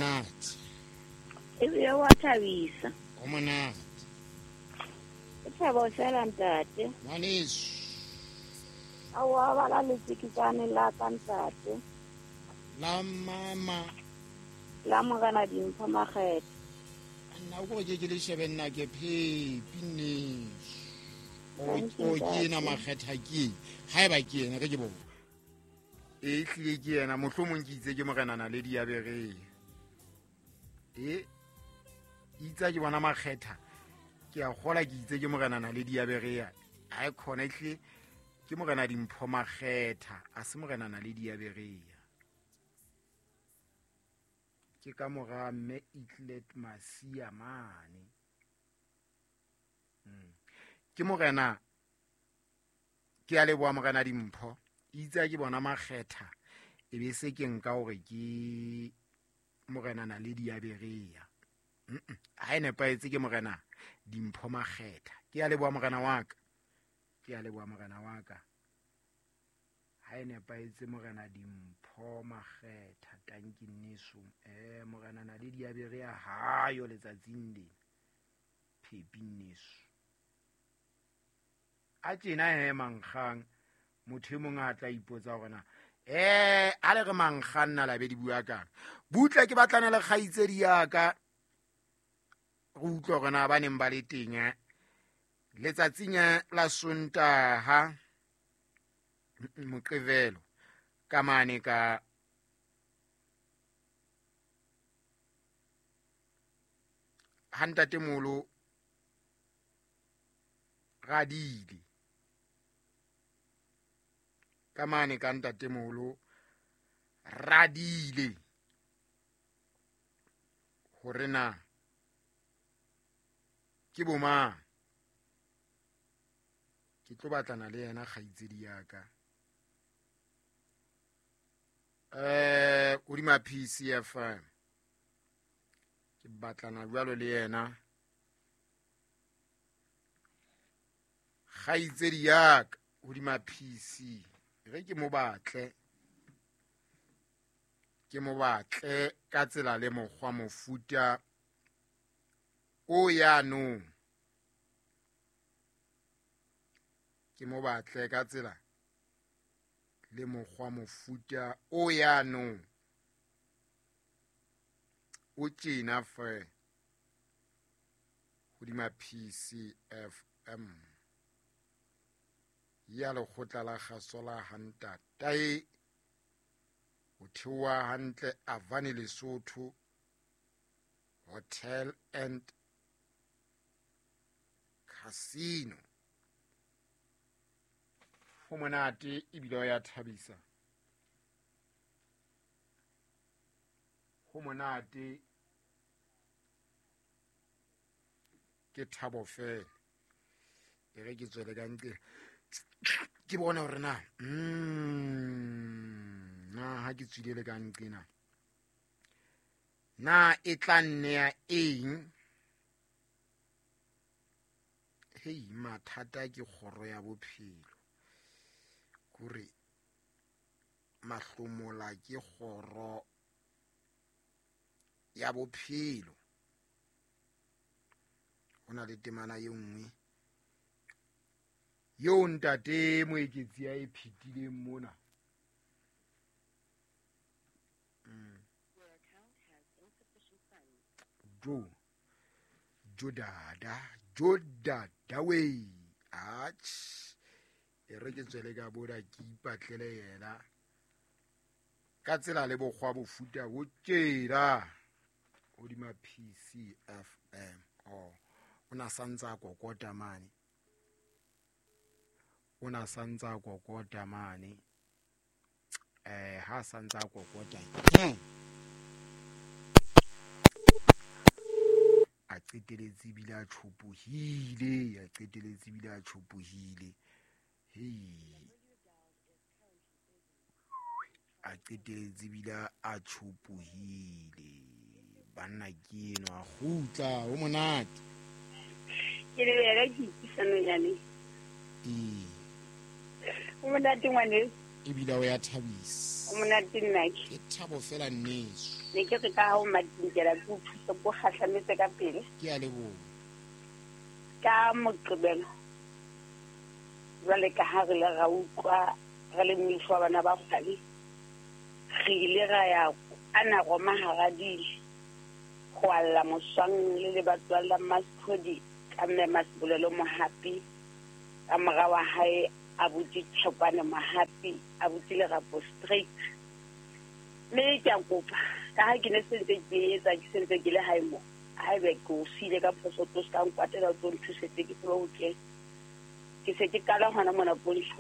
Monate. Ebile wa thabisa. Ho monate. Ke thabo fela ntate. Ngwaneso. Aowa bala letsikitsane la ka ntate. La mama. La Morena Dimpho Makgetha. Nna o kore ke le shebe nna ke phepi nneso. O ke ena Makgetha ke. Haeba ke ena re ke bona. E hlile ke yena mohlomong ke itse ke Morena Naledi ya Berea. E itse ke bona Makgetha ke a kgola ke itse ke Morena Naledi ya Berea. Ha e khona ehlile ke Morena Dimpho Makgetha a se Morena Naledi ya Berea. Ke ka mora mme Itlet Masia mane. Ke Morena ke a leboha Morena Dimpho. Itse ke bona Makgetha e be se ke nka hore ke Morena Naledi ya Berea. Ha e nepahetse ke Morena Dimpho Makgetha. Ke a leboha Morena wa ka. Ke a leboha Morena wa ka. Ha e nepahetse Morena Dimpho Makgetha tanki nneso. Morena Naledi ya Berea ha yo letsatsing lena. Phepi nneso. A tjena he mankgang motho e mong a tla ipotsa hore na a le re mankgang nna la be di bua kang. Butle ke batlana le kgaitsedi ya ka re utlwe hore na ba neng ba le teng letsatsing la Sontaha Moqebelo ka mane ka ha ntatemolo Radile ka mane ka ntatemolo Radile hore na ke bomang. Ke tlo batlana le yena kgaitsedi ya ka. Hodima PCFM ke batlana jwalo le yena kgaitsedi ya ka hodima PC. Re ke mo batle ka tsela le mokgwa mofuta o yanong. Ke mo batle ka tsela le mokgwa mofuta o yanong o tjena fe hodima PCFM ya lekgotla la kgaso la Hantatae ho theoha hantle Avani Lesotho Hotel and Casino. Ho monate ebile o ya thabisa. Ho monate ke thabo fela. E re ke tswele ka ntle ke bone hore na na ha ke tswile le ka nqena na e tla nnea eng. Hei mathata ke kgoro ya bophelo kore mahlomola ke kgoro ya bophelo. Ho na le temana e nngwe yeo ntate Moeketsi a e phetileng mona. Jo dada we ach e re ke tswele ka boda ke ipatlele yena ka tsela le bokgwa bofuta bo tjena hodima PCFM. O na santsa kokota mane. O na santsa kokota mane. Ha santsa kokota. A qeteletse bile a tshopohile, a qeteletse bile a tshopohile. Hei. A qeteletse bile a tshopohile. Banna ke eno a kgutla ho monate. Ke le ya ke isano yane. O monate ngwane. Ebile o ya thabisa. O monate nnake. Ke thabo fela nneso. Ne ke re ka ha o matinkela ke o thuse ko kgahlametse ka pele. Ke a leboha. Ka Moqebelo jwale ka ha re le ra utlwa re le moifo wa bana ba kgwale, re ile ra ya ana Roma hara di ho alla moswang le lebatowa la Mmasphodi ka mme Masebolelo Mohapi, ka mora wa hae abuti Thekwane Mohapi, abuti Lerapo Street. Mme ke a kopa ka ha ke ne sentse ke etsa ke sentse ke le hae mo, haebe ke o siile ka phoso, tlo se ka nkwatela, o tlo nthusetse ke tsebe ho kena. Ke se ke qala hona mona Pontsho.